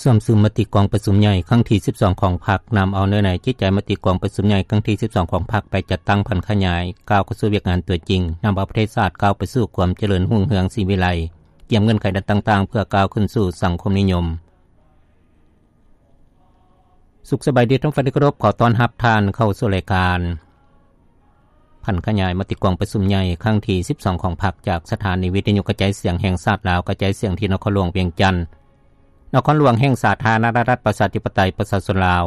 ຊວມຊືນມະຕິກອງປະຊຸມໃຫຍ່ຄັ້ງທີສິບສອງຂອງພັກ ນຳເອົາເນື້ອໃນຈິດໃຈມະຕິກອງປະຊຸມໃຫຍ່ຄັ້ງທີສິບສອງຂອງພັກ ໄປຈັດຕັ້ງຜັນຂະຫຍາຍ ກ້າວເຂົ້າສູ່ວຽກງານຕົວຈິງ, ນຳເອົາປະເທດຊາດກ້າວໄປສູ່ຄວາມຈະເລີນຮຸ່ງເຮືອງສີວິໄລ, ກຽມເງື່ອນໄຂດ້ານຕ່າງໆ ເພື່ອກ້າວຂຶ້ນສູ່ສັງຄົມນິຍົມ. ສຸກສະບາຍດີທ່ານຜູ້ຟັງທີ່ເຄົາລົບ, ຂໍຕ້ອນຮັບທ່ານເຂົ້າສູ່ລາຍການ ຜັນຂະຫຍາຍມະຕິກອງປະຊຸມໃຫຍ່ຄັ້ງທີສິບສອງຂອງພັກ ຈາກສະຖານີວິທະຍຸກະຈາຍສຽງແຫ່ງຊາດລາວ ກະຈາຍສຽງທີ່ນະຄອນຫຼວງວຽງຈັນ, ນະຄອນຫຼວງແຫ່ງສາທາລະນະລັດປະຊາທິປະໄຕປະຊາຊົນລາວ.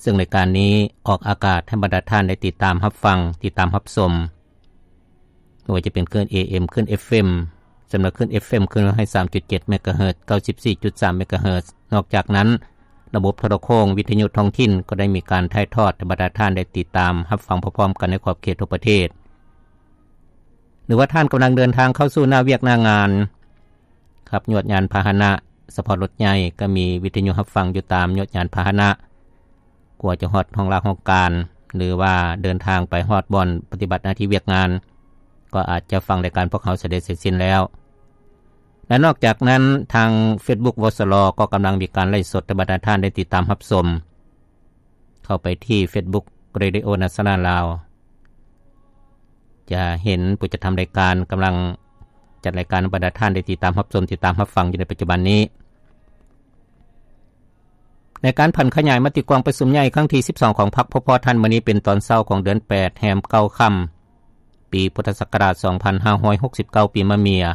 ເຊິ່ງລາຍການນີ້ອອກອາກາດໃຫ້ບັນດາທ່ານໄດ້ຕິດຕາມຮັບຟັງ, ຕິດຕາມຮັບຊົມ, ບໍ່ວ່າຈະເປັນຄື້ນ ເອເອັມ, ຄື້ນ ເອັຟເອັມ, ສຳລັບຄື້ນ ເອັຟເອັມ ຄືໜຶ່ງຮ້ອຍສາມຈຸດເຈັດ ເມກາເຮີດ, ເກົ້າສິບສີ່ຈຸດສາມ ເມກາເຮີດ. ນອກຈາກນັ້ນ, ລະບົບໂທລະໂຄງ, ວິທະຍຸທ້ອງຖິ່ນ ກໍໄດ້ມີການຖ່າຍທອດໃຫ້ບັນດາທ່ານໄດ້ຕິດຕາມຮັບຟັງພ້ອມໆກັນໃນຂອບເຂດທົ່ວປະເທດ. ຫຼືວ່າທ່ານກຳລັງເດີນທາງເຂົ້າສູ່ໜ້າວຽກໜ້າງານ, ຂັບຍວດຍານພາຫະນະ, ສະເພາະລົດໃຫຍ່ ກໍມີວິທະຍຸຮັບຟັງຢູ່ຕາມຍວດຍານພາຫະນະ. ກວ່າຈະຮອດຫ້ອງລາຫ້ອງການ ຫຼືວ່າເດີນທາງໄປຮອດບ່ອນປະຕິບັດໜ້າທີ່ວຽກງານ, ກໍອາດຈະຟັງລາຍການພວກເຮົາສະເລັດເສັດສິ້ນແລ້ວ. ແລະ ນອກຈາກນັ້ນ, ທາງເຟສບຸກ ວສລ ກໍກຳລັງມີການໄລຟ໌ສົດໃຫ້ບັນດາທ່ານໄດ້ຕິດຕາມຮັບຊົມ. ເຂົ້າໄປທີ່ເຟສບຸກ ເຣດິໂອນາຊອນາລລາວ ຈະເຫັນຜູ້ຈັດທຳລາຍການກຳລັງຈັດລາຍການໃຫ້ບັນດາທ່ານໄດ້ຕິດຕາມຮັບຊົມ, ຕິດຕາມຮັບຟັງຢູ່ໃນປັດຈຸບັນນີ້. ໃນການຜັນຂະຫຍາຍມະຕິກອງປະຊຸມໃຫຍ່ຄັ້ງທີສິບສອງຂອງພັກ ພວກພວກທ່ານ ມື້ນີ້ເປັນຕອນເຊົ້າຂອງເດືອນແປດ ແຮມເກົ້າຄ່ຳ ປີພຸດທະສັກກະລາດສອງພັນຫ້າຮ້ອຍຫົກສິບເກົ້າ ປີມະເມຍ,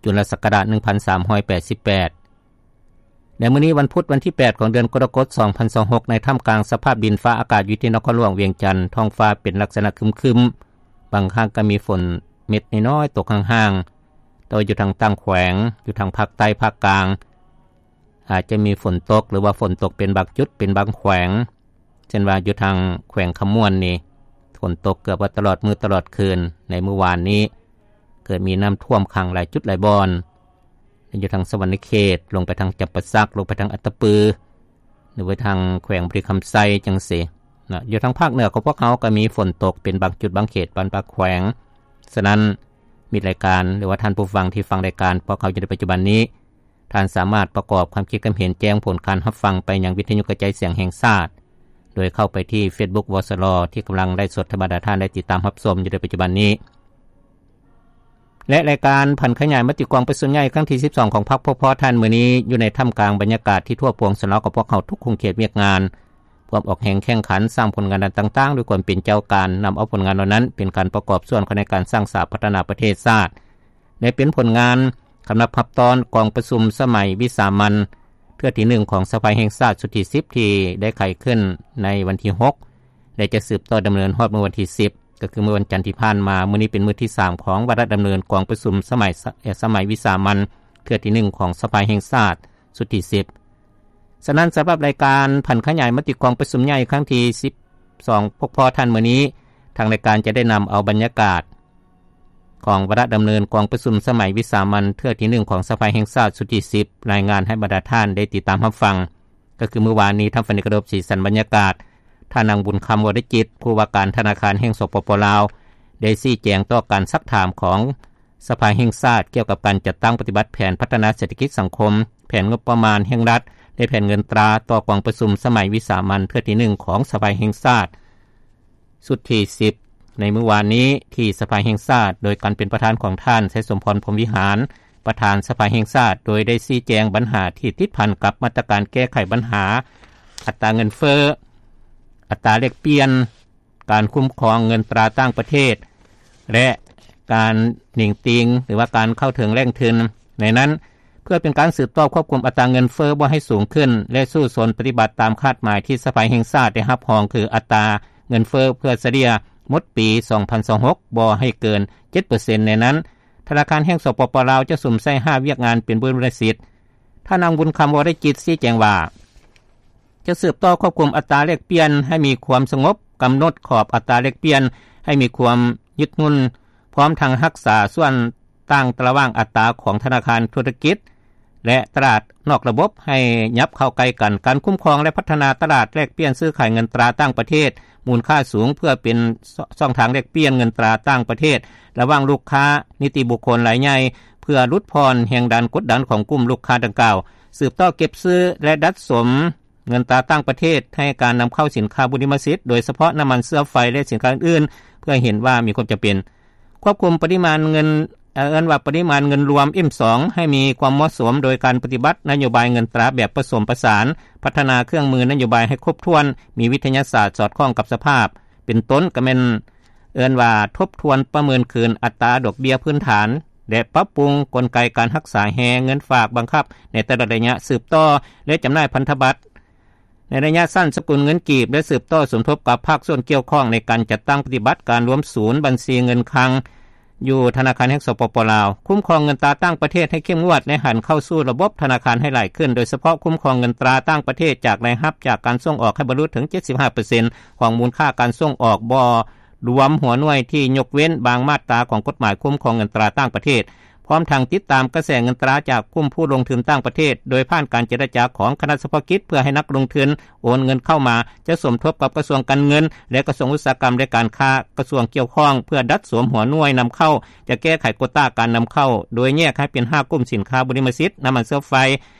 ຈຸລະສັກກະລາດໜຶ່ງພັນສາມຮ້ອຍແປດສິບແປດ. ໃນມື້ນີ້ວັນພຸດ ວັນທີແປດຂອງເດືອນກໍລະກົດ ສອງພັນຊາວຫົກ ໃນທ່າມກາງສະພາບດິນຟ້າອາກາດຢູ່ທີ່ນະຄອນຫຼວງວຽງຈັນ, ທ້ອງຟ້າເປັນລັກສະນະຄຶມໆ, ບາງຄັ້ງກໍມີຝົນເມັດນ້ອຍໆຕົກຫ່າງໆ, ແຕ່ວ່າຢູ່ທາງຕ່າງແຂວງ, ຢູ່ທາງພາກໃຕ້, ພາກກາງ, ອາດຈະມີຝົນຕົກ ຫຼືວ່າຝົນຕົກເປັນບາງຈຸດ ເປັນບາງແຂວງ, ເຊັ່ນວ່າຢູ່ທາງແຂວງຄຳມ່ວນນີ້ ຝົນຕົກເກືອບວ່າຕະຫຼອດມື້ຕະຫຼອດຄືນ. ໃນມື້ວານນີ້ເກີດມີນ້ຳຖ້ວມຂັງຫຼາຍຈຸດຫຼາຍບ່ອນ, ຢູ່ທາງສະຫວັນນະເຂດ, ລົງໄປທາງຈຳປາສັກ, ລົງໄປທາງອັດຕະປື, ຫຼືໄປທາງແຂວງບໍລິຄຳໄຊຈັ່ງຊີ້ນະ. ຢູ່ທາງພາກເໜືອຂອງພວກເຮົາກໍມີຝົນຕົກເປັນບາງຈຸດບາງເຂດ, ບາງແຂວງ. ສະນັ້ນ ມິດລາຍການ ຫຼືວ່າທ່ານຜູ້ຟັງທີ່ຟັງລາຍການພວກເຮົາຢູ່ໃນປັດຈຸບັນນີ້, ທ່ານສາມາດປະກອບຄວາມຄິດຄວາມເຫັນແຈ້ງຜົນການຮັບຟັງໄປຍັງວິທະຍຸກະຈາຍສຽງແຫ່ງຊາດ, ໂດຍເຂົ້າໄປທີ່ເຟສບຸກ ວສລ ທີ່ກຳລັງໄລຟ໌ສົດໃຫ້ບັນດາທ່ານໄດ້ຕິດຕາມຮັບຊົມຢູ່ໃນປັດຈຸບັນນີ້. ແລະ ລາຍການຜັນຂະຫຍາຍມະຕິກອງປະຊຸມໃຫຍ່ຄັ້ງທີສິບສອງຂອງພັກພວກພວກທ່ານ ມື້ນີ້ຢູ່ໃນທ່າມກາງບັນຍາກາດທີ່ທົ່ວປວງຊົນລາວຂອງພວກເຮົາທຸກຂົງເຂດວຽກງານ ພວມອອກແຮງແຂ່ງຂັນສ້າງຜົນງານດ້ານຕ່າງໆ ດ້ວຍຄວາມເປັນເຈົ້າການ, ນຳເອົາຜົນງານເຫຼົ່ານັ້ນເປັນການປະກອບສ່ວນເຂົ້າໃນການສ້າງສາພັດທະນາປະເທດຊາດ ແລະ ເປັນຜົນງານຄຳນັບຮັບຕ້ອນກອງປະຊຸມສະໄໝວິສາມັນເທື່ອທີໜຶ່ງຂອງສະພາແຫ່ງຊາດຊຸດທີສິບ ທີ່ໄດ້ໄຂຂຶ້ນໃນວັນທີຫົກ ແລະ ຈະສືບຕໍ່ດຳເນີນຮອດມື້ວັນທີສິບ ກໍຄືມື້ວັນຈັນທີ່ຜ່ານມາ. ມື້ນີ້ເປັນມື້ທີສາມຂອງວາລະດຳເນີນກອງປະຊຸມສະໄໝ ສະໄໝວິສາມັນເທື່ອທີໜຶ່ງຂອງສະພາແຫ່ງຊາດຊຸດທີສິບ. ສະນັ້ນ ສຳລັບລາຍການຜັນຂະຫຍາຍມະຕິກອງປະຊຸມໃຫຍ່ຄັ້ງທີສິບສອງ ພວກພວກທ່ານ ມື້ນີ້ ທາງລາຍການຈະໄດ້ນຳເອົາບັນຍາກາດຂອງວາລະດຳເນີນກອງປະຊຸມສະໄໝວິສາມັນເທື່ອທີໜຶ່ງຂອງສະພາແຫ່ງຊາດຊຸດທີສິບ ລາຍງານໃຫ້ບັນດາທ່ານໄດ້ຕິດຕາມຮັບຟັງ. ກໍຄືມື້ວານນີ້ ທ່ານ ຝັນດີ ກະດົບ ສີສັນບັນຍາກາດ, ທ່ານນາງ ບຸນຄຳ ວໍລິຈິດ ຜູ້ວ່າການທະນາຄານແຫ່ງ ສປປ ລາວ ໄດ້ຊີ້ແຈງຕໍ່ການຊັກຖາມຂອງສະພາແຫ່ງຊາດ ກ່ຽວກັບການຈັດຕັ້ງປະຕິບັດແຜນພັດທະນາເສດຖະກິດສັງຄົມ, ແຜນງົບປະມານແຫ່ງລັດ ແລະ ແຜນເງິນຕາຕໍ່ກອງປະຊຸມສະໄໝວິສາມັນເທື່ອທີໜຶ່ງຂອງສະພາແຫ່ງຊາດ ຊຸດທີສິບ ໃນມື້ວານນີ້ທີ່ສະພາແຫ່ງຊາດ ໂດຍການເປັນປະທານຂອງທ່ານ ໄຊສົມພອນ ພົມວິຫານ ປະທານສະພາແຫ່ງຊາດ, ໂດຍໄດ້ຊີ້ແຈງບັນຫາທີ່ຕິດພັນກັບມາດຕະການແກ້ໄຂບັນຫາອັດຕາເງິນເຟີ້, ອັດຕາແລກປ່ຽນ, ການຄຸ້ມຄອງເງິນຕາຕ່າງປະເທດ ແລະ ການໜິງຕີງ ຫຼືວ່າການເຂົ້າເຖິງແຫຼ່ງທຶນ. ໃນນັ້ນ, ເພື່ອເປັນການສືບຕໍ່ຄວບຄຸມອັດຕາເງິນເຟີ້ບໍ່ໃຫ້ສູງຂຶ້ນ ແລະ ສູ້ຊົນປະຕິບັດຕາມຄາດໝາຍທີ່ສະພາແຫ່ງຊາດໄດ້ຮັບຮອງ ຄືອັດຕາເງິນເຟີ້ເພື່ອສະເລ່ຍໝົດປີສອງພັນຊາວຫົກ ບໍ່ໃຫ້ເກີນເຈັດເປີເຊັນ. ໃນນັ້ນ, ທະນາຄານແຫ່ງ ສປປ ລາວ ຈະສຸມໃສ່ຫ້າວຽກງານເປັນບຸນລະສິດ. ທ່ານນາງ ບຸນຄຳ ວໍລິຈິດ ຊີ້ແຈງວ່າ ຈະສືບຕໍ່ຄວບຄຸມອັດຕາແລກປ່ຽນໃຫ້ມີຄວາມສະຫງົບ, ກຳນົດຂອບອັດຕາແລກປ່ຽນໃຫ້ມີຄວາມຍືດຫຍຸ່ນ, ພ້ອມທັງຮັກສາສ່ວນຕ່າງລະຫວ່າງອັດຕາຂອງທະນາຄານທຸລະກິດ ແລະ ຕະຫຼາດນອກລະບົບໃຫ້ຫຍັບເຂົ້າໃກ້ກັນ. ການຄຸ້ມຄອງ ແລະ ພັດທະນາຕະຫຼາດແລກປ່ຽນຊື້ຂາຍເງິນຕາຕ່າງປະເທດມູນຄ່າສູງ ເພື່ອເປັນຊ່ອງທາງແລກປ່ຽນເງິນຕາຕ່າງປະເທດລະຫວ່າງລູກຄ້ານິຕິບຸກຄົນລາຍໃຫຍ່ ເພື່ອຫຼຸດຜ່ອນແຮງດັນກົດດັນຂອງກຸ່ມລູກຄ້າດັ່ງກ່າວ. ສືບຕໍ່ເກັບຊື້ ແລະ ດັດສົມເງິນຕາຕ່າງປະເທດ ໃຫ້ການນຳເຂົ້າສິນຄ້າບຸລິມະສິດ ໂດຍສະເພາະນ້ຳມັນເຊື້ອໄຟ ແລະ ສິນຄ້າອື່ນໆ ເພື່ອເຫັນວ່າມີຄວາມຈຳເປັນ. ຄວບຄຸມປະລິມານເງິນ ເອີ້ນວ່າປະລິມານເງິນລວມ ເອັມສອງ ໃຫ້ມີຄວາມເໝາະສົມ ໂດຍການປະຕິບັດນະໂຍບາຍເງິນຕາແບບປະສົມປະສານ, ພັດທະນາເຄື່ອງມືນະໂຍບາຍໃຫ້ຄົບຖ້ວນ, ມີວິທະຍາສາດສອດຄ່ອງກັບສະພາບ ເປັນຕົ້ນກໍແມ່ນ ເອີ້ນວ່າທົບທວນປະເມີນຄືນອັດຕາດອກເບ້ຍພື້ນຖານ ແລະ ປັບປຸງກົນໄກການຮັກສາແຮງເງິນຝາກບັງຄັບໃນແຕ່ລະໄລຍະ, ສືບຕໍ່ ແລະ ຈຳໜ່າຍພັນທະບັດໃນໄລຍະສັ້ນສະກຸນເງິນກີບ ແລະ ສືບຕໍ່ສົມທົບກັບພາກສ່ວນກ່ຽວຂ້ອງໃນການຈັດຕັ້ງປະຕິບັດການລວມສູນບັນຊີເງິນຄັງ ຢູ່ທະນາຄານແຫ່ງ ສປປ ລາວ. ຄຸ້ມຄອງເງິນຕາຕ່າງປະເທດໃຫ້ເຂັ້ມງວດ ແລະ ຫັນເຂົ້າສູ່ລະບົບທະນາຄານໃຫ້ຫຼາຍຂຶ້ນ, ໂດຍສະເພາະຄຸ້ມຄອງເງິນຕາຕ່າງປະເທດຈາກລາຍຮັບຈາກການສົ່ງອອກໃຫ້ບັນລຸເຖິງ ເຈັດສິບຫ້າເປີເຊັນ ຂອງມູນຄ່າການສົ່ງອອກ ບໍ່ລວມຫົວໜ່ວຍທີ່ຍົກເວັ້ນບາງມາດຕາຂອງກົດໝາຍຄຸ້ມຄອງເງິນຕາຕ່າງປະເທດ, ພ້ອມທັງຕິດຕາມກະແສເງິນຕາຈາກກຸ່ມຜູ້ລົງທຶນຕ່າງປະເທດ ໂດຍຜ່ານການເຈລະຈາຂອງຄະນະສະເພາະກິດ ເພື່ອໃຫ້ນັກລົງທຶນໂອນເງິນເຂົ້າມາ, ຈະສົມທົບກັບກະຊວງການເງິນ ແລະ ກະຊວງອຸດສາຫະກຳ ແລະ ການຄ້າ, ກະຊວງກ່ຽວຂ້ອງ ເພື່ອດັດສົມຫົວໜ່ວຍນຳເຂົ້າ, ຈະແກ້ໄຂໂກຕາການນຳເຂົ້າ ໂດຍແຍກໃຫ້ເປັນຫ້າກຸ່ມສິນຄ້າບຸລິມະສິດ, ນ້ຳມັນເຊື້ອໄຟ,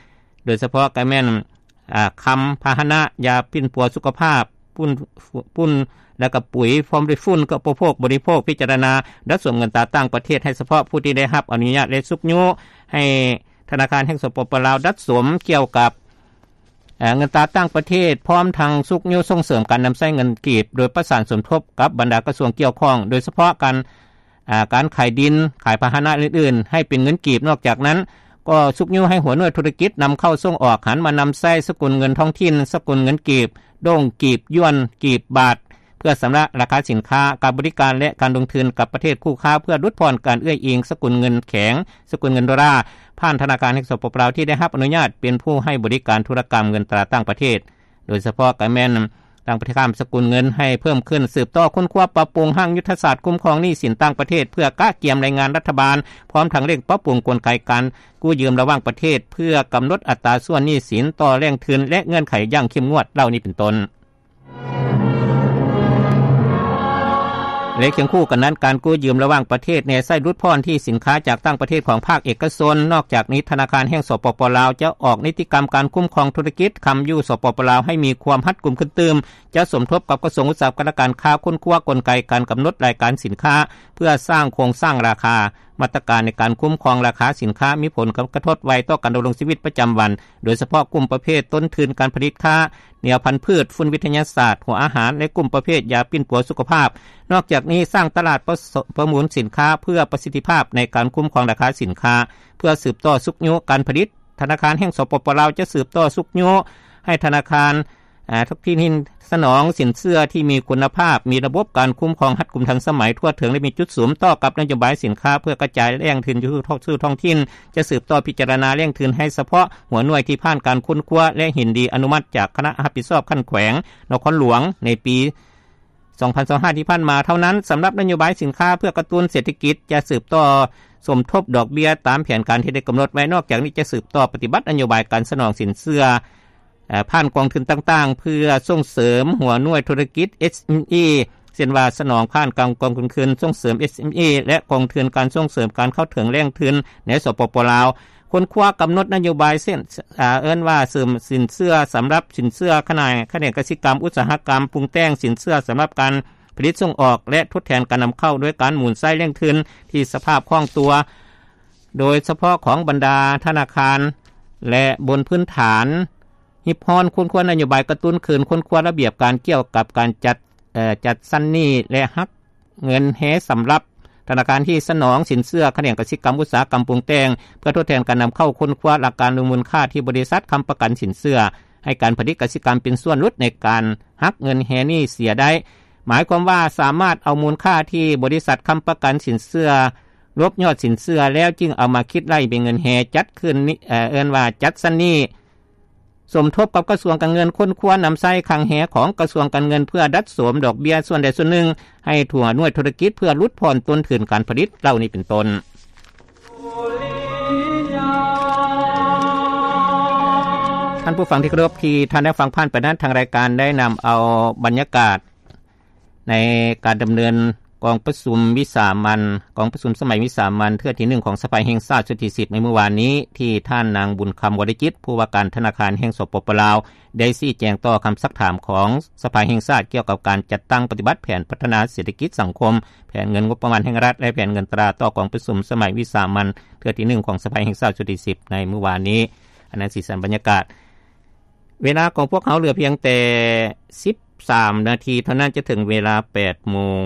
ໂດຍສະເພາະກໍແມ່ນ ອາ ຄຳ, ພາຫະນະ, ຢາປິ່ນປົວສຸຂະພາບ, ປຸ້ນ, ປຸ້ນ ແລະ ກໍປຸ໋ຍ, ພ້ອມດ້ວຍຝຸ່ນ ກໍອຸປະໂພກ, ບໍລິໂພກ, ພິຈາລະນາດັດສົມເງິນຕາຕ່າງປະເທດ ໃຫ້ສະເພາະຜູ້ທີ່ໄດ້ຮັບອະນຸຍາດ ແລະ ຊຸກຍູ້ໃຫ້ທະນາຄານແຫ່ງ ສປປ ລາວ ດັດສົມກ່ຽວກັບ ເງິນຕາຕ່າງປະເທດ, ພ້ອມທັງຊຸກຍູ້ສົ່ງເສີມການນຳໃຊ້ເງິນກີບ ໂດຍປະສານສົມທົບກັບບັນດາກະຊວງກ່ຽວຂ້ອງ, ໂດຍສະເພາະການ ອາ ການຂາຍດິນ, ຂາຍພາຫະນະອື່ນໆ ໃຫ້ເປັນເງິນກີບ. ນອກຈາກນັ້ນ, ກໍຊຸກຍູ້ໃຫ້ຫົວໜ່ວຍທຸລະກິດນຳເຂົ້າສົ່ງອອກ ຫັນມານຳໃຊ້ສະກຸນເງິນທ້ອງຖິ່ນ, ສະກຸນເງິນກີບ, ໂດງ, ກີບ, ຢວນ, ກີບ, ບາດ, ເພື່ອຊຳລະລາຄາສິນຄ້າ, ການບໍລິການ ແລະ ການລົງທຶນກັບປະເທດຄູ່ຄ້າ ເພື່ອຫຼຸດຜ່ອນການເອື້ອຍອີງສະກຸນເງິນແຂງ, ສະກຸນເງິນໂດລາ, ຜ່ານທະນາຄານແຫ່ງ ສປປ ລາວ ທີ່ໄດ້ຮັບອະນຸຍາດເປັນຜູ້ໃຫ້ບໍລິການທຸລະກຳເງິນຕາຕ່າງປະເທດ, ໂດຍສະເພາະກໍແມ່ນ ຕັ້ງປະຕິກຳສະກຸນເງິນໃຫ້ເພີ່ມຂຶ້ນ, ສືບຕໍ່ຄົ້ນຄວ້າປັບປຸງຮ່າງຍຸດທະສາດຄຸ້ມຄອງໜີ້ສິນຕ່າງປະເທດ ເພື່ອກະກຽມລາຍງານລັດຖະບານ, ພ້ອມທັງເລັ່ງປັບປຸງກົນໄກການກູ້ຢືມລະຫວ່າງປະເທດ ເພື່ອກຳນົດອັດຕາສ່ວນໜີ້ສິນຕໍ່ແຫຼ່ງທຶນ ແລະ ເງື່ອນໄຂຢ່າງເຂັ້ມງວດ ເຫຼົ່ານີ້ເປັນຕົ້ນ. ແລະ ຄຽງຄູ່ກັນນັ້ນ, ການກູ້ຢືມລະຫວ່າງປະເທດແນໃສ່ຫຼຸດຜ່ອນທີ່ສິນຄ້າຈາກຕ່າງປະເທດຂອງພາກເອກະຊົນ. ນອກຈາກນີ້, ທະນາຄານແຫ່ງ ສປປ ລາວ ຈະອອກນິຕິກຳການຄຸ້ມຄອງທຸລະກິດຄຳຢູ່ ສປປ ລາວ ໃຫ້ມີຄວາມຮັດກຸມຂຶ້ນຕື່ມ, ຈະສົມທົບກັບກະຊວງອຸດສາຫະກຳ ແລະ ການຄ້າ ຄົ້ນຄວ້າກົນໄກການກຳນົດລາຍການສິນຄ້າ ເພື່ອສ້າງໂຄງສ້າງລາຄາ. ມາດຕະການໃນການຄຸ້ມຄອງລາຄາສິນຄ້າມີຜົນກະທົບໄວຕໍ່ການດຳລົງຊີວິດປະຈຳວັນ, ໂດຍສະເພາະກຸ່ມປະເພດຕົ້ນທຶນການຜະລິດຄ້າ, ແນວພັນພືດ, ຝຸ່ນວິທະຍາສາດ, ຫົວອາຫານ ແລະ ກຸ່ມປະເພດຢາປິ່ນປົວສຸຂະພາບ. ນອກຈາກນີ້, ສ້າງຕະຫຼາດປະ ປະມູນສິນຄ້າເພື່ອປະສິດທິພາບໃນການຄຸ້ມຄອງລາຄາສິນຄ້າ ເພື່ອສືບຕໍ່ຊຸກຍູ້ການຜະລິດ. ທະນາຄານແຫ່ງ ສປປ ລາວ ຈະສືບຕໍ່ຊຸກຍູ້ໃຫ້ທະນາຄານ ອາ ທຸກທີ່ນີ້ສະໜອງສິນເຊື່ອທີ່ມີຄຸນນະພາບ, ມີລະບົບການຄຸ້ມຄອງຮັດກຸມທັນສະໄໝ, ທົ່ວເຖິງ ແລະ ມີຈຸດສຸມຕໍ່ກັບນະໂຍບາຍສິນຄ້າ ເພື່ອກະຈາຍແຫຼ່ງທຶນຢູ່ ສູ່ທ້ອງຖິ່ນ, ຈະສືບຕໍ່ພິຈາລະນາແຫຼ່ງທຶນໃຫ້ສະເພາະຫົວໜ່ວຍທີ່ຜ່ານການຄົ້ນຄວ້າ ແລະ ເຫັນດີອະນຸມັດຈາກຄະນະຮັບຜິດຊອບຂັ້ນແຂວງ, ນະຄອນຫຼວງ ໃນປີ ສອງພັນຊາວຫ້າ ທີ່ຜ່ານມາເທົ່ານັ້ນ. ສຳລັບນະໂຍບາຍສິນຄ້າເພື່ອກະຕຸ້ນເສດຖະກິດ ຈະສືບຕໍ່ສົມທົບດອກເບ້ຍຕາມແຜນການທີ່ໄດ້ກຳນົດໄວ້. ນອກຈາກນີ້, ຈະສືບຕໍ່ປະຕິບັດນະໂຍບາຍການສະໜອງສິນເຊື່ອ ເອີ ຜ່ານກອງທຶນຕ່າງໆ ເພື່ອສົ່ງເສີມຫົວໜ່ວຍທຸລະກິດ ເອສເອັມອີ ເຊັ່ນວ່າ ສະໜອງຜ່ານການກອງທຶນສົ່ງເສີມ ເອສເອັມອີ ແລະ ກອງທຶນການສົ່ງເສີມການເຂົ້າເຖິງແຫຼ່ງທຶນໃນ ສປປ ລາວ. ຄົ້ນຄວ້າກຳນົດນະໂຍບາຍເຊັ່ນ ເອີ້ນວ່າເສີມສິນເຊື່ອສຳລັບສິນເຊື່ອຂະໜາຍຂະແໜງກະສິກຳ, ອຸດສາຫະກຳ, ປຸງແຕ່ງ, ສິນເຊື່ອສຳລັບການຜະລິດສົ່ງອອກ ແລະ ທົດແທນການນຳເຂົ້າ ໂດຍການໝູນໃຊ້ແຫຼ່ງທຶນທີ່ສະພາບຄ່ອງຕົວ ໂດຍສະເພາະຂອງບັນດາທະນາຄານ ແລະ ບົນພື້ນຖານ ຮິບຮ້ອນຄົ້ນຄວ້ານະໂຍບາຍກະຕຸ້ນຄືນ, ຄົ້ນຄວ້າລະບຽບການກ່ຽວກັບການຈັດ ເອີ ຈັດຊັ້ນໜີ້ ແລະ ຫັກເງິນແຮສຳລັບທະນາຄານທີ່ສະໜອງສິນເຊື່ອຂະແໜງກະສິກຳ, ອຸດສາຫະກຳ, ປຸງແຕ່ງ ເພື່ອທົດແທນການນຳເຂົ້າ, ຄົ້ນຄວ້າຫຼັກການມູນຄ່າທີ່ບໍລິສັດຄ້ຳປະກັນສິນເຊື່ອໃຫ້ການຜະລິດກະສິກຳເປັນສ່ວນຫຼຸດໃນການຫັກເງິນແຮນີ້ເສຍໄດ້, ໝາຍຄວາມວ່າສາມາດເອົາມູນຄ່າທີ່ບໍລິສັດຄ້ຳປະກັນສິນເຊື່ອລົບຍອດສິນເຊື່ອແລ້ວ ຈຶ່ງເອົາມາຄິດໄລ່ເປັນເງິນແຮຈັດຄືນນີ້ ເອີ້ນວ່າຈັດຊັ້ນໜີ້. ສົມທົບກັບກະຊວງການເງິນ, ຄົ້ນຄວ້ານຳໃຊ້ຄັງແຮຂອງກະຊວງການເງິນ ເພື່ອດັດໂສມດອກເບ້ຍສ່ວນໃດສ່ວນໜຶ່ງໃຫ້ຫົວໜ່ວຍທຸລະກິດ ເພື່ອຫຼຸດຜ່ອນຕົ້ນທຶນການຜະລິດ ເຫຼົ່ານີ້ເປັນຕົ້ນ. ທ່ານຜູ້ຟັງທີ່ເຄົາລົບ, ທີ່ທ່ານໄດ້ຟັງຜ່ານໄປນັ້ນ, ທາງລາຍການໄດ້ນຳເອົາບັນຍາກາດ ໃນການດຳເນີນ ກອງປະຊຸມວິສາມັນ ກອງປະຊຸມສະໄໝວິສາມັນເທື່ອທີໜຶ່ງຂອງສະພາແຫ່ງຊາດຊຸດທີສິບໃນມື້ວານນີ້ ທີ່ທ່ານນາງ ບຸນຄຳ ວໍລະຈິດ ຜູ້ວ່າການທະນາຄານແຫ່ງ ສປປ ລາວ ໄດ້ຊີ້ແຈງຕໍ່ຄຳຊັກຖາມຂອງສະພາແຫ່ງຊາດ ກ່ຽວກັບການຈັດຕັ້ງປະຕິບັດແຜນພັດທະນາເສດຖະກິດສັງຄົມ, ແຜນເງິນງົບປະມານແຫ່ງລັດ ແລະ ແຜນເງິນຕາຕໍ່ກອງປະຊຸມສະໄໝວິສາມັນເທື່ອທີໜຶ່ງຂອງສະພາແຫ່ງຊາດຊຸດທີສິບໃນມື້ວານນີ້. ອັນນັ້ນສີສັນບັນຍາກາດ. ເວລາຂອງພວກເຮົາເຫຼືອພຽງແຕ່ສິບສາມນາທີເທົ່ານັ້ນ ຈະເຖິງເວລາແປດໂມງ.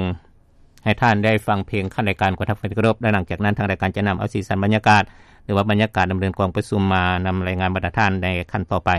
ໃຫ້ທ່ານໄດ້ຟັງເພງຂັ້ນລາຍການ ຂໍທັກແຟນທີ່ເຄົາລົບ ແລະ ຫຼັງຈາກນັ້ນທາງລາຍການຈະນຳເອົາສີສັນບັນຍາກາດ ຫຼືວ່າບັນຍາກາດດຳເນີນກອງປະຊຸມມານຳລາຍງານບັນດາທ່ານໃນຂັ້ນຕໍ່ໄປ.